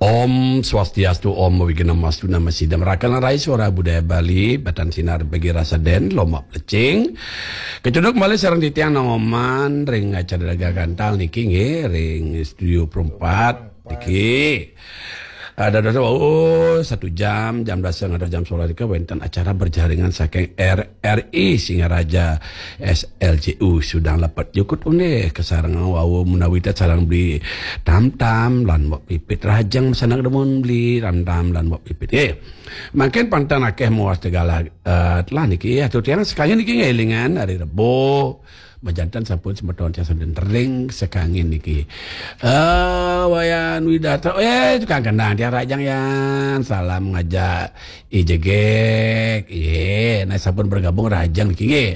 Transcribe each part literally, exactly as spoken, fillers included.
Om Swastiastu, Om Awighnam Astu Namo Sidham. Rakan rai Suara Budaya Bali, Batan Sinar bagi rasa den, Lomak Plecing. Kecunduk kembali sareng titiang Noman ring acara Dagang Gantal niki nggih, ring studio perempat niki. Ada dosa, oh, satu jam, jam dasa ngantos jam sebelas niki wenten acara berjaringan saking R R I Singaraja S L C U Sudang Lepet Jukut Unde kasareng wau menawi tet sareng beli tam-tam lan wak pipit rajang sanak demun beli tam-tam lan wak pipit. Eh, mungkin pantan akeh muas tegala eh, telah niki atur tiang sekalian niki ngelingan hari Rebo. Majanten sampun semeton tiang sambil tering sekangin niki. Eh, Wayan Widata, eh, tukang kendang tiang rajang yan. Salam ngajak ijegek. Ye, nah sampun bergabung rajang niki nggih.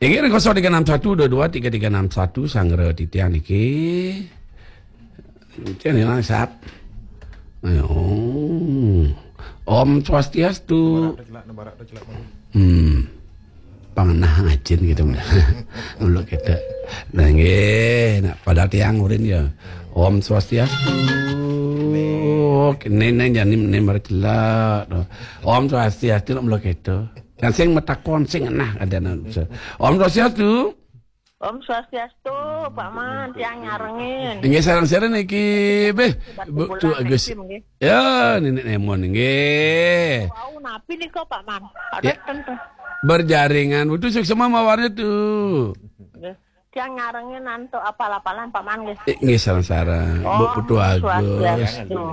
Inggih ring kosong tiga enam satu dua dua tiga tiga enam satu sanggra titiang niki. Titiang niki sap. Ayo. Om Swastiastu. Hmm. Pangenah ngajin gitu. Mula kita. Nah, nggih, nah, padahal tiang urin ya. Om Swastiastu. Neng neng jani neng marcelak. Om Swastiastu nak mula kita. Yang sing metakon sing nah ada. Om Swastiastu. Om Swastiastu, Pak Man, tiang nyarengin. Inggih sareng-sareng niki, beh, Bu Tuagus. Ya, Nenek Nemon nggih. Wau napi nika, Pak Man? Ada tentu. Berjaringan, Bu Tu suksma mawarnya tu. Nggih. Tiang nyarengin antuk apal-apalan, Pak Man nggih. Eh, nggih sareng-sareng. Bu Tuagus. Swastiastu.